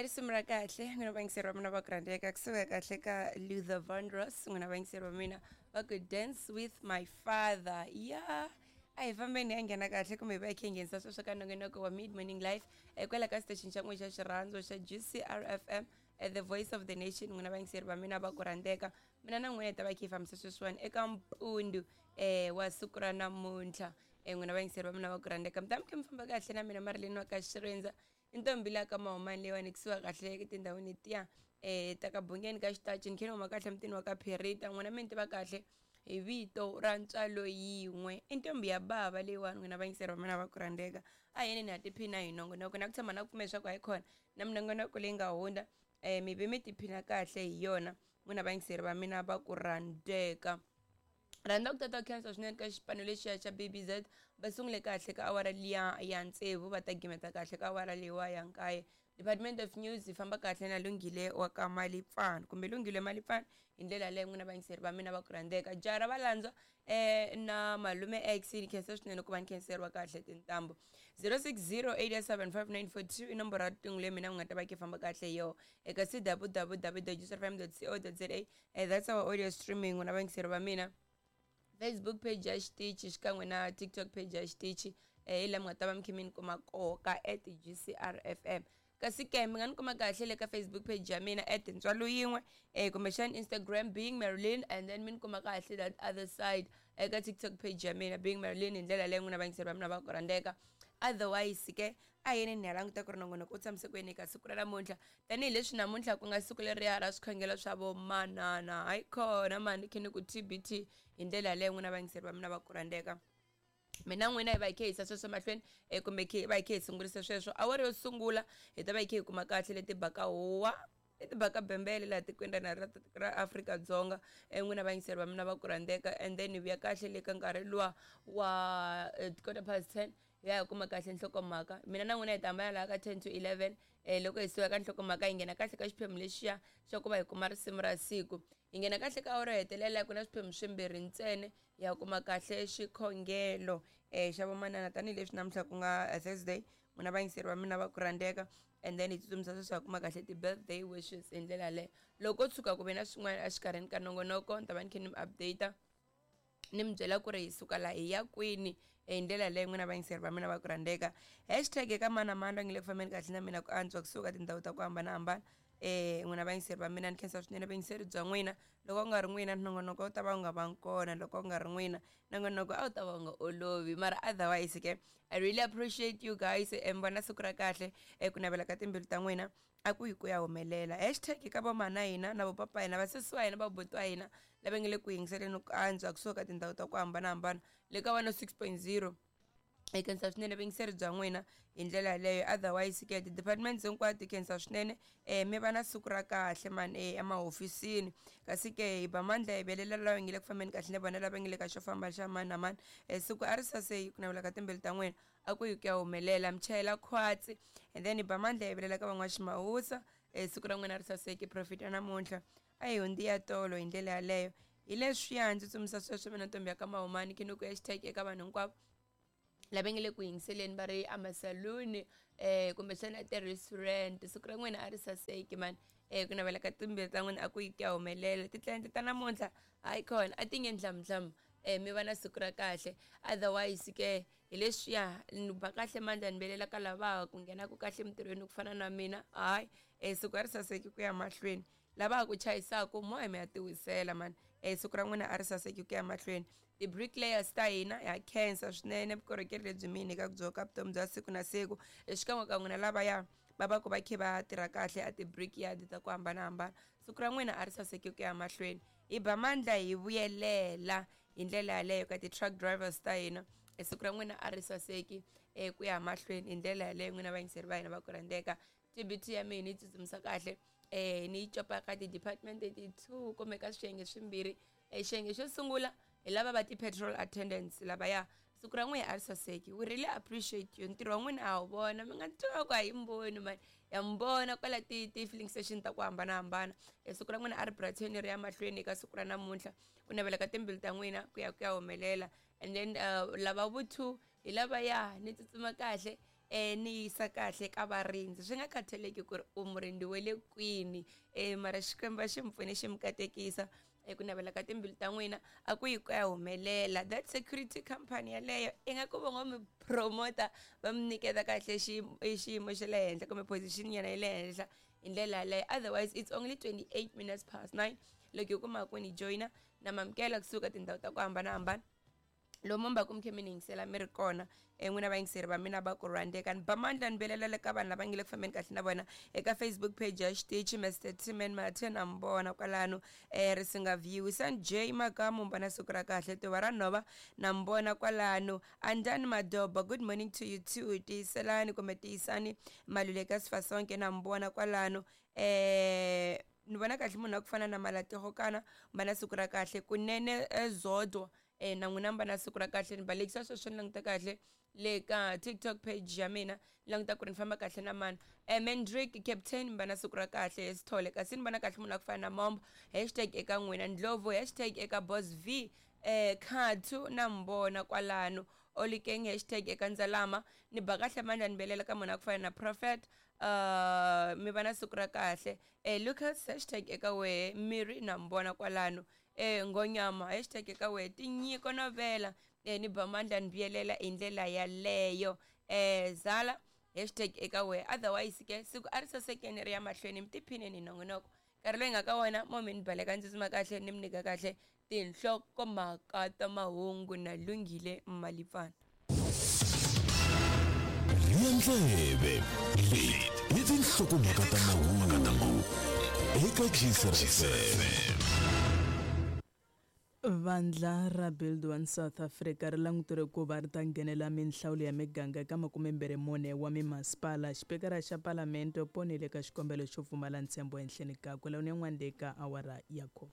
Risimu ra kahle n'wina vayingiseri va mina va ku rhandzeka kusuka kahle ka Luther Vandross n'wina vayingiseri va mina va ku dance with my father ya a hi fambeni ya nghena kahle kumbe hi va hi khe hi nghenisa sweswo ka nongonoko wa mid morning life kwala ka station xa n'we xa xirhandzo xa GCRFM the voice of the nation n'wina vayingiseri va mina va ku rhandzeka mina na n'wina hi ta va khe hi fambisa sweswiwani eka mpundu wa siku ra namuntlha n'wina vayingiseri va mina va ku rhandzeka mi ta mi khe mi famba kahle na mina Marilyn wa ka Xirindza i ntombi la ka mahumani leyiwani kusuka kahle etindhawini letiya ta ka bungeni ka xitachi ni khe ni huma kahle mutini wa ka Pherita n'wina mi ni tiva kahle hi vito ra ntswalo yin'we i ntombi ya bava leyiwani n'wina vayingiseri va mina va ku rhandzeka a yini ni ha tiphina hi nongonoko na ku tshama na ku pfumela leswaku hayi khona na minongonoko leyi nga hundza mi ve mi tiphina kahle hi yona n'wina vayingiseri va mina va ku rhandzeka rhandza ku tata khensa swinene ka xipano lexiya xa BBZ va sungule kahle ka awara liya ya tsevu va ta gimeta kahle ka awara leyiwa ya nkaye department of news yi famba kahle na lunghile wa ka malipfana kumbe lunghile malipfana hi ndlela leyo n'wina vayingiseri va mina va ku rhandzeka jaha ra valandzwa na malume x ni khensa swinene ku va ni khenseriwa kahle tintambu 0608755942 i nomboro ya riqingho leyi mina mi nga ta va ki famba kahle hi yona eka cwww.gcrfm.co.za that's our audio streaming n'wina vayingiseri va mina Facebook page ya xitichi xikan'we na TikTok page ya xitichi hi laha mi nga ta va mi khe mi ni kuma koho ka at GCRFM kasi ke mi nga ni kuma kahle le ka Facebook page ya mina at ntswalo yin'we kumbexana Instagram being Marilyn and then mi ni kuma kahle that other side eka TikTok page ya mina being Marilyn hi ndlela leyi n'wina vayingiseri va mina va ku rhandzeka otherwise ke a yini ni ya languta ku ri nongonoko u tshamise ku yini eka siku ra namuntlha tanihileswi namuntlha ku nga siku leriya ra swikhongelo swa vomanana hayi khona mani khe ni ku TBT hi ndlela yaleyo n'wina vayingiseri va mina va ku rhandzeka mina n'wina hi va hi khe hi yisa sweswo mahlweni kumbe hi va hi khe hi sungurisa sweswo awara yo sungula hi ta va hi khe hi kuma kahle leti baka huwa leti baka bembele laha tikweni ra ra ra Afrika-Dzonga n'wina vayingiseri va mina va ku rhandzeka and then hi vuya kahle le ka nkarhi luwa wa 10:15 hi ya hi kuma kahle nhlokomhaka mina na n'wina hi ta hambana laha ka 10 to 11 loko hi suka ka nhlokomhaka hi nghena kahle ka xiphemu lexiya xa ku va hi kuma risimu ra siku hi nghena kahle ka awara yo hetelela ku na swiphemu swimbirhi ntsena hi ya kuma kahle xikhongelo xa vomanana tanihileswi namuntlha ku nga Thursday n'wina vayingiseri va mina va ku rhandzeka and then hi tsutsumisa sweswi hi kuma kahle ti-birthday wishes hi ndlela yaleyo loko ko tshuka ku ve na swin'wana exikarhini ka nongonoko ni ta va ni khe ni mi update ni mi byela ku ri hi suka laha hi ya kwini hi ndlela leyo n'wina vayingiseri va mina va ku rhandzeka hashtag eka mani na mani va nge le ku fambeni kahle na mina ku antswa kusuka tindhawu ta ku hambanahambana n'wina vayingiseri va mina ni khensa swinene vuyingiseri bya n'wina loko ku nga ri n'wina nongonoko wu ta va wu nga vangi kona loko ku nga ri n'wina nongonoko a wu ta va wu nga olovi mara otherwise ke I really appreciate you guys mi vona siku ra kahle ku navela ka timbilu ta n'wina a ku yi ku ya humelela hashtag ka vomana hina na vopapa hina vasesi wa hina vabuti wa hina lava nge le ku yingiseleni ku antswa kusuka ka tindhawu ta ku hambanahambana le ka 106.0 hi khensa swinene vuyingiseri bya n'wina hi ndlela yaleyo otherwise ke ti-departments hinkwato hi khensa swinene mi va na siku ra kahle mani emahofisini kasi ke hi ba mandla hi velela lava nge le ku fambeni kahle na vona lava nge le ka xo famba xa mani na mani siku a ri saseki ku navela ka timbilu ta n'wina a ku yi ku ya humelela mi chayela khwatsi and then hi ba mandla hi velela ka van'waximawusa siku ra n'wina ri saseki profit ya namuntlha a hi hundzi ya tolo hi ndlela yaleyo hi leswiya ndzi tsumisa sweswo mina ntombi ya ka mahumani khe ni ku hashtag eka vanhu hinkwavo lava nge le ku yingiseleni va ri emasaluni kumbexana ti-restaurant siku ra n'wina a ri saseki mani ku navela ka timbilu ta n'wina a ku yi ku ya humelela titlilayente ta namuntlha hayi khona a ti nge ndlamudlamu mi va na siku ra kahle otherwise ke hi leswiya ni ba kahle mandla ni velela ka lava ku nghenaku kahle emitirhweni ku fana na mina hayi siku a ri saseki ku ya mahlweni lava ku chayisaku moya mi ya tiwisela mani siku ra n'wina a ri saseki ku ya mahlweni ti-bricklayers ta hina ha khensa swinene vukorhokeri lebyi mi hi nyikaka byo ka vutomi bya siku na siku xikan'we ka n'wina lavaya va va ku va khe va tirha kahle a ti-brickyard ta ku hambanahambana siku ra n'wina a ri saseki ku ya mahlweni hi ba mandla hi vuyelela hi ndlela yaleyo ka ti-truck drivers ta hina siku ra n'wina a ri saseki ku ya mahlweni hi ndlela yaleyo n'wina vayingiseri va hina va ku rhandzeka TBT ya mina yi tsutsumisa kahle ni yi copa ka ti-department ti-two kumbe ka swiyenge swimbirhi xiyenge xo sungula hi lava va ti-petrol attendants lavaya siku ra n'wina a ri saseki we really appreciate you ntirho wa n'wina a wu vona mi nga twa ku a yi mboni mani ya mi vona kwala ti-filling station ta ku hambanahambana siku ra n'wina a ri brighten ri ya mahlweni eka siku ra namuntlha ku navela ka timbilu ta n'wina ku ya ku ya humelela and then lava vu two hi lavaya ni tsutsuma kahle. Ni yisa kahle ka varindzi swi nga khathaleki ku ri u murindzi wa le kwini. Mara Xikwembu a xi mi pfune xi mi katekisa ku navela ka timbilu ta n'wina a ku yi ku ya humelela. That security company yaleyo ingaku va ngo mi promota, va mi nyiketa kahle xiyimo xa le henhla kumbe position nyana ya le henhla hi ndlela yaleyo. Otherwise it's only 28 minutes past 9 loko hi kuma ku ni joyina na mamukela kusuka tindhawu ta ku hambanahambana lomu mi va ku mi khe mi ni yingisela mi ri kona. N'wina vayingiseri va mina va ku rhandzeka, ni ba mandla ni velelela ka vanhu lava nge le ku fambeni kahle na vona eka Facebook page ya xitichi. Mr Timan Mathe na mi vona kwalano, Risinga View, San J Makamu, mbona siku ra kahle, Tuva ra Nhova na mi vona kwalano, Andani Madoba, good morning to you too, tiyiselani kumbe tiyisani Maluleka Sifasonke na mi vona kwalano. Ni vona kahle munhu wa ku fana na Malatego kana mbana siku ra kahle kunene, Zodwa, na n'wina mi va na siku ra kahle. Ni balekisa sweswo, ni languta kahle le ka TikTok page ya mina, ni languta ku ri ni famba kahle na mani. Mendrick Captain, mi va na siku ra kahle. Sithole kasi ni vona kahle munhu wa ku fana na Mombo, hashtag eka n'wina. Ndlovu, hashtag eka Boss V. Khathu na mi vona kwalano. Olikeng, hashtag eka Ndzalama. Ni ba kahle mandla, ni belela ka munhu wa ku fana na Prophet, mi va na siku ra kahle. Lucas, hashtag eka wehe. Miri na mi vona kwalano. Ngonyama, hashtag eka wehe. Tinyiko Novela, ni ba mandla ni vuyelela hi ndlela yaleyo. Zala, hashtag eka wehe. Otherwise ke siku a ri sasekeni ri ya mahlweni, mi tiphineni hi nongonoko nkarhi loyi nga ka wona mo mi ni baleka ndzi tsutsuma kahle ni mi nyika kahle tinhlokomhaka ta mahungu na Lunghile Malipfana. Rhiya ndleve, leti i tinhlokomhaka ta mahungu eka GCR FM. Vandla ra Build One South Africa ri languteriwe ku va ri ta nghenela minhlawulo ya miganga eka 24 wa mimasipala. Xipikara xa Palamende u ponile eka xikombelo xo pfumala ntshembo ehenhleni kakwe. Lawa ni yan'wana leyi ka awara ya khume.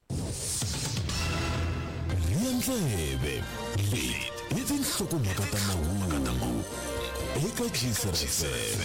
Rhiya ndleve, leti i tinhlokomhaka ta mahungu eka GCR FM.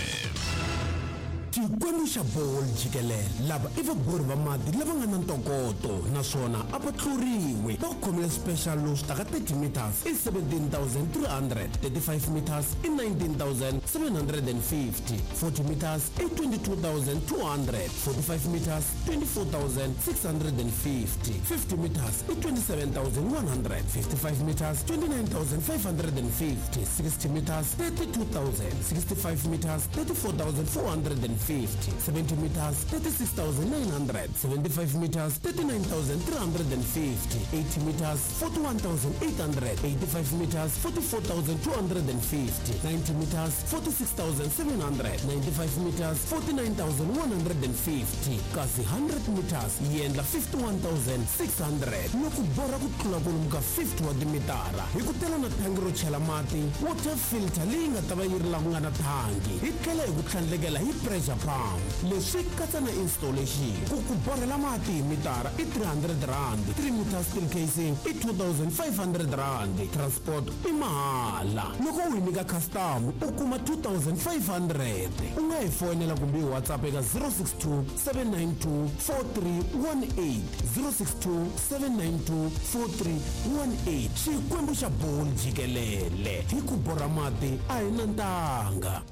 Xikwembu xa Ball jikelele, lava i vabori va mati lava nga na ntokoto naswona a va tluriwi. Va khomile special lowu swi taka 30 meters i 17,300, 35 meters i 19,750, 40 meters i 22,200, 45 meters 24,650, 50 meters i 27,100, 55 meters 29,550, 60 meters 32,000, 65 meters 34,450, 70 meters 36,900, 75 meters 39,350, 80 meters 41,800, 85 meters 44,250, 90 meters 46,700, 95 meters 49,150, kasi 100 meters yi endla 51,600. Loko borha ku tlula kwalomu ka 50 wa timitara, hi ku tela na thangi ro chela mati, water filter leyi nga ta va yi ri laha ku nga na thangi, hi tlhela hi ku tlhandlekela hi pressure pump. Leswi katsa na installation. Ku ku borhela mati hi mitara i 300 rand, 3 meter steel casing i 2500 rand, transport i mahala. Loko u hi nyika custom u kuma 2500. U nga hi foyinela kumbe hi WhatsApp eka 062 792 4318, 062 792 4318. Xikwembu xa Ball jikelele, hi ku borha mati a hi na ntanga.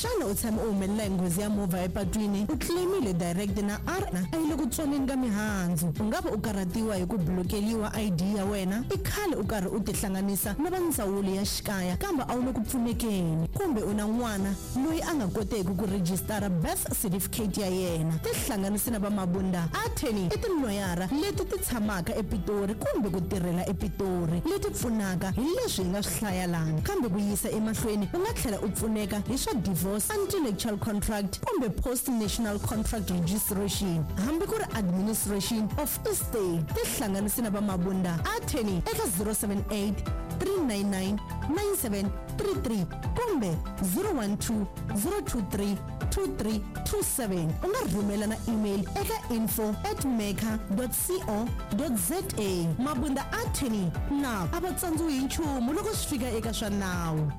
Xana u tshame u humelela hi nghozi ya movha epatwini, u claimile direct na R a yi le ku tswoneni ka mihandzu? U nga va u karhatiwa hi ku blokeliwa ID ya wena? I khale u karhi u tihlanganisa na va ndzawulo ya xikaya kambe a wu le ku pfunekeni? Kumbe u na n'wana loyi a nga koteki ku rejistara birth certificate ya yena? Tihlanganise na va Mabunda Attorney, i tiloyara leti ti tshamaka ePitori kumbe ku tirhela ePitori leti pfunaka hi leswi hi nga swi hlaya lana. Kambe ku yisa emahlweni u nga tlhela u pfuneka hi swa divorce, anti-nuptial contract kumbe post-national contract registration, hambi ku ri administration of estate. Tihlanganise na va Mabunda Attorney eka 078 399 9733 kumbe 012 023 2327. U nga rhumela na email eka info at mecca co za. Mabunda Attorney na a va tsandziwi hi nchumu loko swi fika eka swa nawu.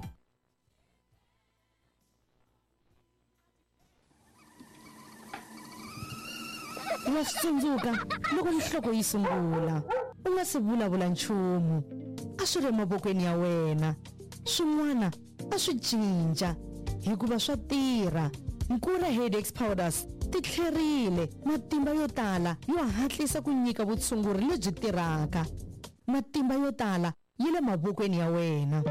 Wa swi tsundzuka loko nhloko yi sungula. U nga si vulavula nchumu. A swi ri emavokweni ya wena. Swin'wana a swi cinca hikuva swa tirha. Nkura Headaches Powders ti tlherile matimba yo tala yo hatlisa ku nyika vutshunguri lebyi tirhaka. Matimba yo tala yi le mavokweni ya wena.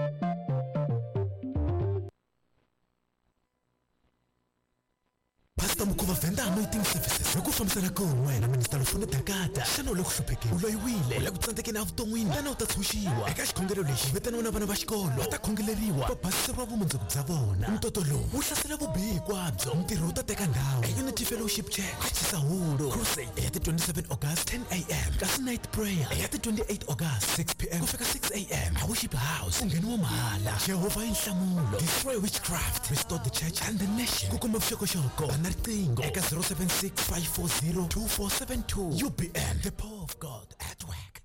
Pastor Mukhuva Venda Anointing Services hi ku fambisana kun'we na Minister Lufuno Dakata. Xana u le ku hluphekeni? U loyiwile? U le ku tsandzekeni evuton'wini? Tana u ta tshunxiwa. Eka xikhongelo lexi vitaniwa na vana va xikolo va ta khongeleriwa va basiseriwa vumundzuku bya vona. Ntoto lowu wu hlasela vubihi hinkwabyo. Ntirho wu ta teka ndhawu eUnity Fellowship Church eChisahulu. Crusade ya ti 27 August 10 am, kasi night prayer ya ti 28 August 6 pm ku fika 6 am a Worship House. Ku ngheniwa mahala. Jehovha i nhlamulo. Destroy witchcraft, restore the church and the nation. Ku kuma vuxokoxoko va na riqingho eka 076 540 2472. UBM, the power of God at work.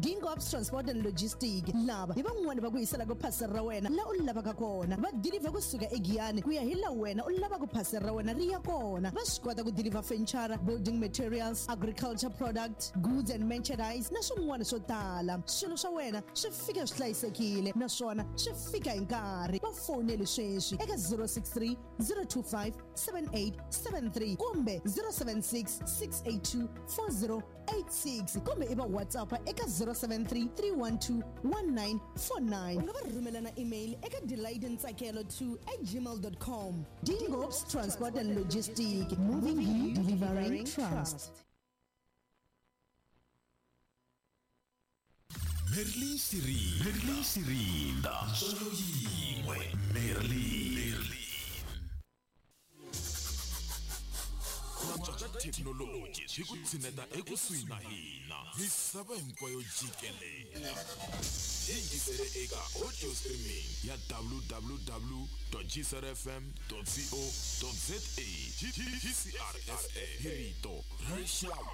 Dingops Transport and Logistic lava hi van'wani va ku yiselaka phasela ra wena la u lavaka kona. Va deliver kusuka eGiyani ku ya hi la wena u lavaka phasela ra wena ri ya kona. Va swi kota ku deliver furniture, building materials, agriculture product, goods and merchandise na swin'wana swo tala. Swilo swa wena swi fika swi hlayisekile naswona swi fika hi nkarhi. Va foneli sweswi eka 063 025 7873 kumbe 076 682 4086 kumbe i va WhatsApp eka 073 312 1949. U nga va rhumela na email eka delightntsakelo2@gmail.com. Dingops Transport and Logistic, moving you, delivering trust. Merlin Sirinda, Merlin Sirinda, solo yin'we, Merlin. Ku antswa ka thekinoloji swi ku tshineta ekusuhi na hina misava hinkwayo jikelele. Yingisele eka audio streaming ya www.gcrfm.co.za. GCRFM, hi rito ra rixaka.